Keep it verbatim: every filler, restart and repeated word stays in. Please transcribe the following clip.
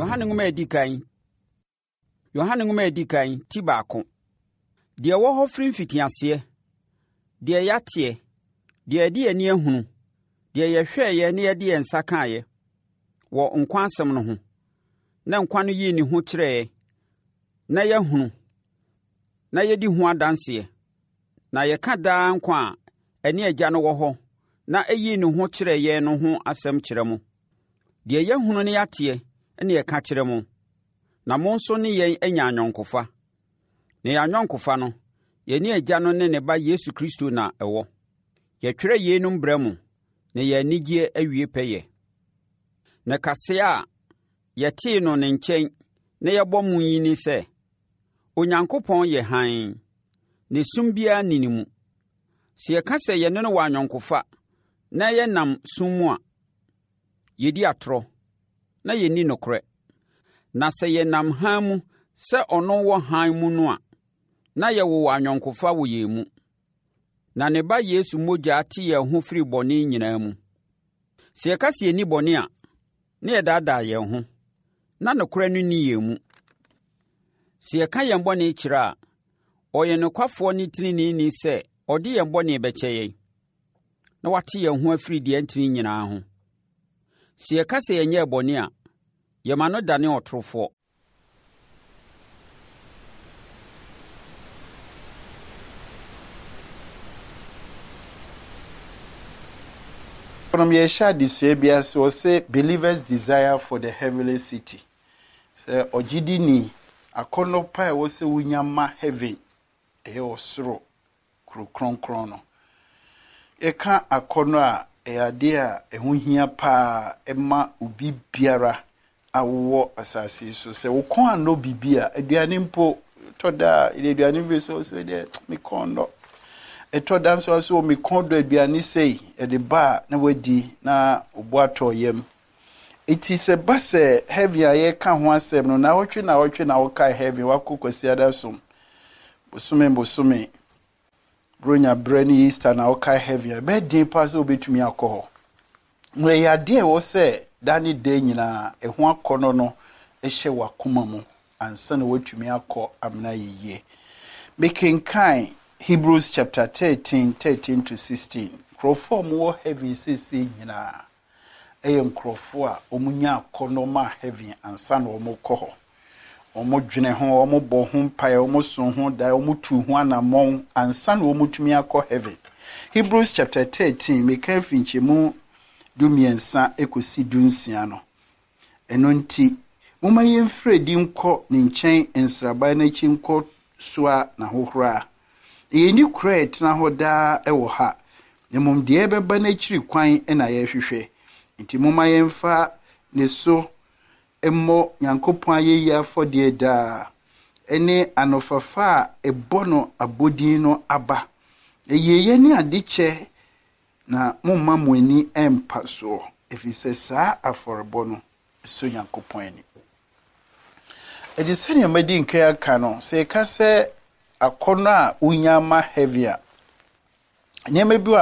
Yohane nwoma a ɛdi kan Yohane nwoma a ɛdi kan ti baako. Deɛ ɛwɔ hɔ firi mfitiaseɛ, deɛ yɛateɛ, deɛ yɛde yɛn ani ahunu, deɛ yɛhwɛeɛ na yɛde yɛn nsa kaeɛ wɔ nkwa asɛm no ho, na nkwa no yii ne ho kyerɛeɛ, na yɛahunu, na yɛdi ho adanseɛ, na yɛka daa nkwa a ɛne Agya no wɔ hɔ na ɛyii ne ho kyerɛɛ yɛn no ho asɛm kyerɛ mo. Deɛ yɛahunu na yɛateɛ ne yɛka kyerɛ mo, na mo nso ne yɛn anya ayɔnkofa. Na yɛn ayɔnkofa no, yɛne Agya no ne ne Ba Yesu Kristo na ɛwɔ. Yɛtwerɛ yeinom brɛ mo, na yɛn anigyeɛ awie pɛyɛ. Na kaseɛ a yɛtee no ne nkyɛn na yɛbɔ mo yi ne sɛ, Onyankopɔn yɛ hann, na esum biara nni ne mu. Sɛ yɛka sɛ yɛne no wɔ ayɔnkofa na yɛnam sum mu a, yɛdi atorɔ na yɛnni nokorɛ. Na sɛ yɛnam hann mu sɛ ɔno wɔ hann mu no a, na yɛwowɔ ayɔnkofa wɔ yɛn mu. Na ne Ba Yesu mogya te yɛn ho firi bɔne nyinaa mu. Sɛ yɛka sɛ yɛnni bɔne a, na yɛdaadaa yɛn ho, na nokorɛ no nni yɛn mu. Sɛ yɛka yɛn bɔne kyerɛ a, ɔyɛ nokwafoɔ ne teneneeni sɛ ɔde yɛn bɔne bɛkyɛ yɛn, na wate yɛn ho afiri deɛ ɛntene nyinaa ho. Sɛ yɛka sɛ yɛnyɛɛ bɔne a, yɛma no dane ɔtorofoɔ. Nom yɛhyɛ adesua bi ase, wɔsɛ believers desire for the heavenly city. Sɛ ɔgyidini akɔnnɔ pa a ɛwɔ sɛ wonya ma heaven, ɛyɛ ɔsoro kuro kronkron no. Yɛka akɔnnɔ a, ɛyɛ adeɛ a ɛho hia paa ɛma obi biara a wowɔ asase yi so. Sɛ wo kɔn anɔ biribi a, aduane mpo tɔ da a, yɛde aduane bi so sɛ deɛ me kɔn dɔ. Ɛtɔ da nso so me kɔn dɔ aduane sei, yɛde ba a na wadi na obo atɔ yam. Eti sɛ ba sɛ heaven a yɛka ho asɛm no, na wɔtwe na wɔtwe na wɔkae heaven, wakɔ Kwasiada som, bosome bosome, Bronya berɛ ne Easter na wɔkae heaven a, ɛbɛyɛ den paa sɛ wobɛtumi akɔ hɔ. Na ɛyɛ adeɛ a ɛwɔ sɛ da ne da nyinaa ɛho akɔnnɔ no hyɛ w'akoma mu ansa na woatumi akɔ amena yie. Mekenkan Hebrews chapter thirteen, thirteen to sixteen. Nkurɔfoɔ a wɔwɔ heaven seesei nyinaa ɛyɛ nkurɔfoɔ a wɔnya akɔnnɔ ma heaven ansa na wɔkɔ hɔ. Wɔdwene ho, wɔbɔ ho mpaeɛ, wɔso ho dae, wɔtu ho anammɔn ansa na wɔtumi akɔ heaven. Hebrews chapter thirteen, meka afi nkyɛmu du mmiɛnsa kɔsi du nsia no. Ɛno nti, momma yɛmfiri adi nkɔ ne nkyɛn nsraban n'akyi nkɔ soa n'ahohora. Yɛnni kuro a ɛtena hɔ daa wɔ ha, na mmom deɛ ɛbɛba n'akyiri kwan na yɛrehwehwɛ. Nti momma yɛmfa ne so mmɔ Nyankopɔn ayɛyie afɔdeɛ daa, ne anofafa a ɛbɔ no abɔdin no aba. Yieyɛ ne adekyɛ na momma mo ani mpa soɔ, ɛfiri sɛ saa afɔrebɔ no ɛsɔ Nyankopɔn ani. Ɛde sɛnea madi nkan aka no, sɛ yɛka sɛ akɔnnɔ a wonya ma heaven a, nneɛma bi wɔ